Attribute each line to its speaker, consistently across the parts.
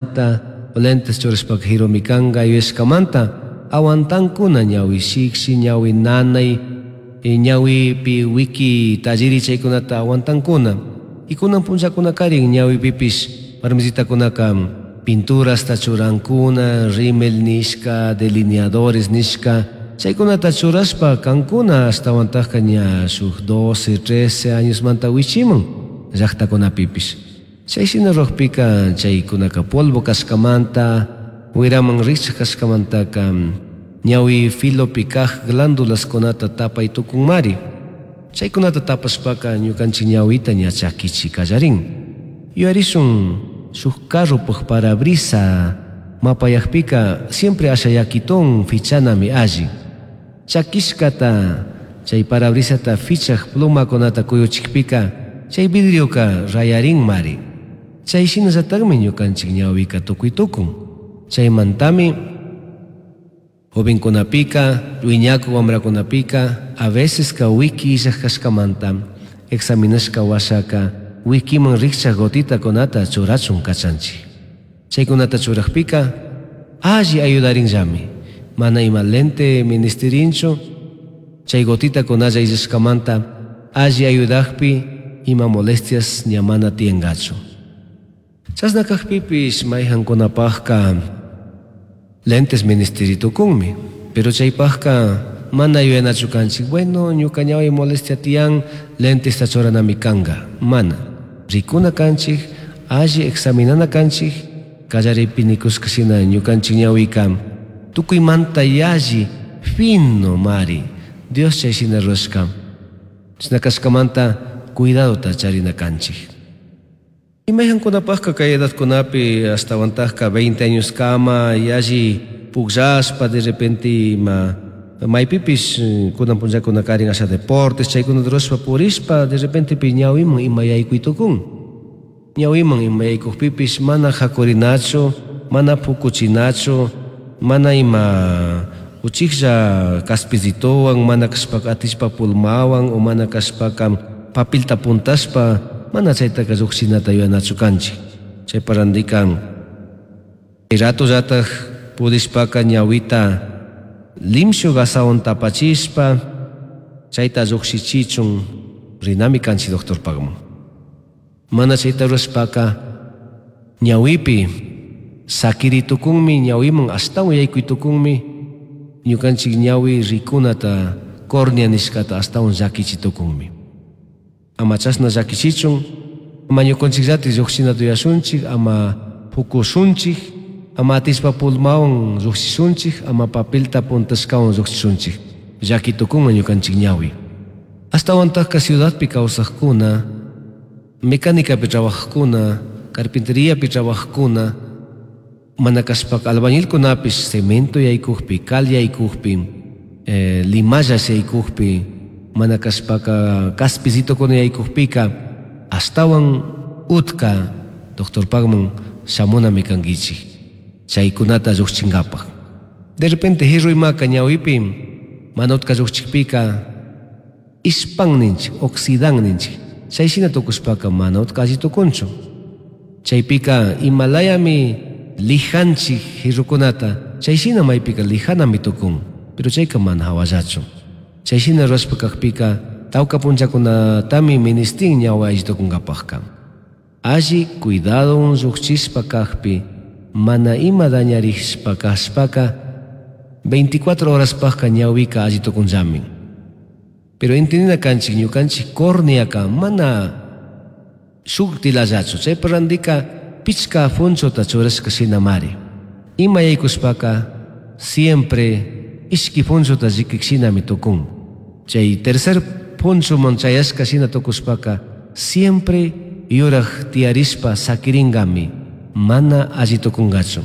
Speaker 1: Lentes churashpaka jirumi kanka yuyashkamanta aguantankuna ñawi shikshi, ñawi nanay, ñawipi wiki talliri chaykunata aguantankuna. Y kunan punllakunakarin ñawipipish warmisitakunaka pinturasta churankuna, rímel nishka, delineadores nishka, chaykunata churashpa kankuna ashtawantajka ña shuk 12, 13 añosmanta wichiman llaktakunapipish. Chay shina ruwakpika chaykunaka polvo kashkamanta, wiraman rikchak kashkamantaka ñawi filopi kaj glándulaskunata tapay tukunmari. Chaykunata tapashpaka ñukanchik ñawita ña chakichi kallarin. Yuyarishun shuk carropaj parabrisa mapayakpika siempre asha yakitun fichanami alli. Chakishkata chay parabrisata fichaj plumakunata kuyuchikpika chay vidrioka rayarinmari. Chay shinallatakmi ñukanchik ñawika tukuy tukun. Chaymantami jovenkunapika, wiñaku wamrakunapika a veces ka wiki illaj kashkamanta examinashka washaka wikiman rikchak gotitakunata churachun kachanchik. Chaykunata churakpika alli ayudarinllami. Mana ima lente ministirinchu, chay gotitakunalla illashkamanta alli ayudakpi ima molestias ña mana tiyankachu. Chashna kakpipish mayhankunapajka lentes ministeritukunmi, pero chaypajka mana yuyanachu kanchik, bueno, ñuka ñawi molestia tiyan, lentesta churanami kanka. Mana. Rikuna kanchik, alli examinana kanchik, kallaripi nikushka shina ñukanchik ñawika tukuymanta yalli fino mari. Dios chay shina rurashka. Chashna kashkamanta cuidadota charina kanchik. Imayhankunapajka kay edadkunapi ashtawantajka 20 años kama yalli pukllashpa de repente ima maypipish kunan punllakuna karin asha deportes chaykunata rurashpa purishpa de repente pi ñawiman ima yaykuy tukun. Ñawiman ima yaykukpipish mana hakurinachu, mana pukuchinachu, mana ima uchiklla kaspizitowan, mana kashpaka atishpa pulmawan o mana kashpaka papilta puntashpa mana chaytaka llukshinata yuyanachu kanchik. Chaypa randikan ratullataj pudishpaka ñawita limshu gasawan tapachishpa chayta llukshichichun rinami kanchik doctorpagman. Mana chayta rurashpaka ñawipi sakiritukunmi, ñawiman ashtawan yaykuytukunmi, ñukanchik ñawi rikunata córnea nishkata ashtawan llakichitukunmi. Ama chashna llakichichun, ama ñukanchikllatik llukshinata yuyashunchik, ama pukushunchik, ama atishpa pulmawan llukshishunchik, ama papelta puntashkawan llukshishunchik. Llakitukunman ñukanchik ñawi. Ashtawantajka ciudadpi kawsajkuna, mecánicapi trabajajkuna, carpinteriapi trabajajkuna, mana kashpaka albañilkunapish cemento yaykukpi, cal yaykukpi, limalla yaykukpi, mana kashpaka kaspizitokuna yaykukpika ashtawan utka doctorpagman shamunami kankichik chaykunata llukchinkapaj. De repente jirruymaka ñawipi mana utka llukchikpika ispan ninchik, oxidan ninchik. Chay shina tukushpaka mana utka alli tukunchu. Chaypika imalayami lijanchik jirrukunata, chay shina maypika lijanami tukun, pero chayka mana hawallachu. Chay shina rurashpa kakpika tawka punllakunatami ministin ñawi alli tukunkapajka. Alli cuidado llukchishpa kakpi, mana ima dañarishpa kashpaka 24 horaspajka ñawika alli tukunllami. Pero entendina kanchik ñukanchik córneaka mana shuk tilallachu, chaypa randika pichka funchota churashka shinamari. Ima yaykushpaka siempre ishki funchota llikik shinami tukun. Chay tercer punchuman chayashka shina tukushpaka siempre yuraj tiyarishpa sakiringami, mana alli tukungachu.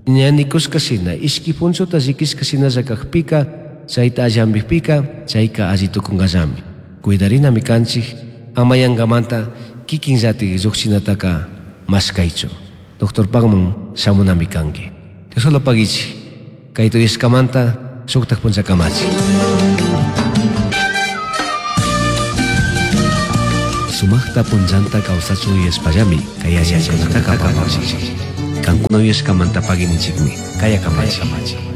Speaker 1: Ña nikushka shina, ishki punchuta llikishka shinalla kakpika, chayta alli hampikpika, chayka alli tukungallami. Cuidarinami kanchik, ama yankamanta kikinllatik llukshinataka mashkaychu. Doctorpagman shamunami kanki. Dios solo pagichik, kay tuyashkamanta shuktak punchakamachi. Sumaqta punllanta kawsachun yuyashpallami kay yachaykunataka apamunchik. Cancuna uyashcamanta pagui ninchikmi. Kaya kamachi.